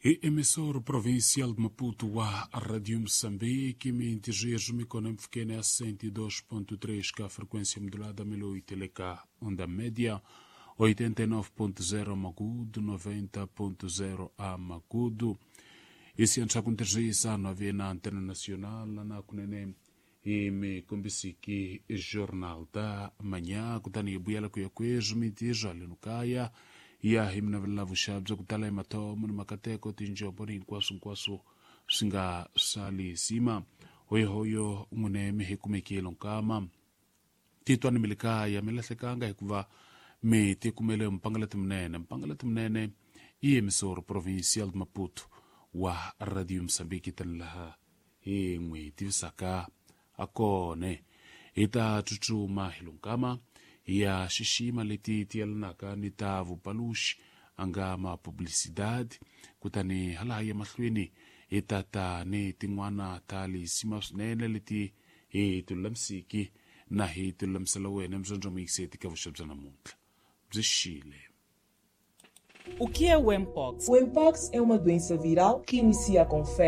Hi emissor provincial de Maputo wa Radio Moçambique, mintijejo mikona mpfukene ya 102.3 ka frequência modulada 1008 LK onda média 89.0 Magudo, 90.0 a Magudo. Isi antshakuntirhisa nave na antena nacional na kunene hi mikombisiki jornal da manhã, kutani hi vuyela ku ya kwezwi mintirho haleno kaya ya hi minavelela vuxavi bya ku tala hi mathomo ni makateko tinjombo ni hinkwaswo hinkwaswo swi nga sali sima hoyohoyo n'wine mi hi kumekile nkama titwa ni mi le kaya mi lahlekanga hikuva mi tikumele mpangalati munene. Mpangalati munene i emissor provincial de Maputo wa Radio Mozambique, tani laha hi n'wi tivisaka a kone. Hi ta tsutsuma hi lunkama hi ya xixima leti ti yelanaka ni ta vupaluxi a nga ma publicidade, kutani halaha ya mahlweni hi ta ta ni tin'wana ta lisima swinene leti hi ti lulamisiki na hi ti lulamisela wena mzondzo muyiseti ka vuxa bya namuntlha byi xile. O que é o Mpox? O Mpox é uma doença viral que inicia com febre.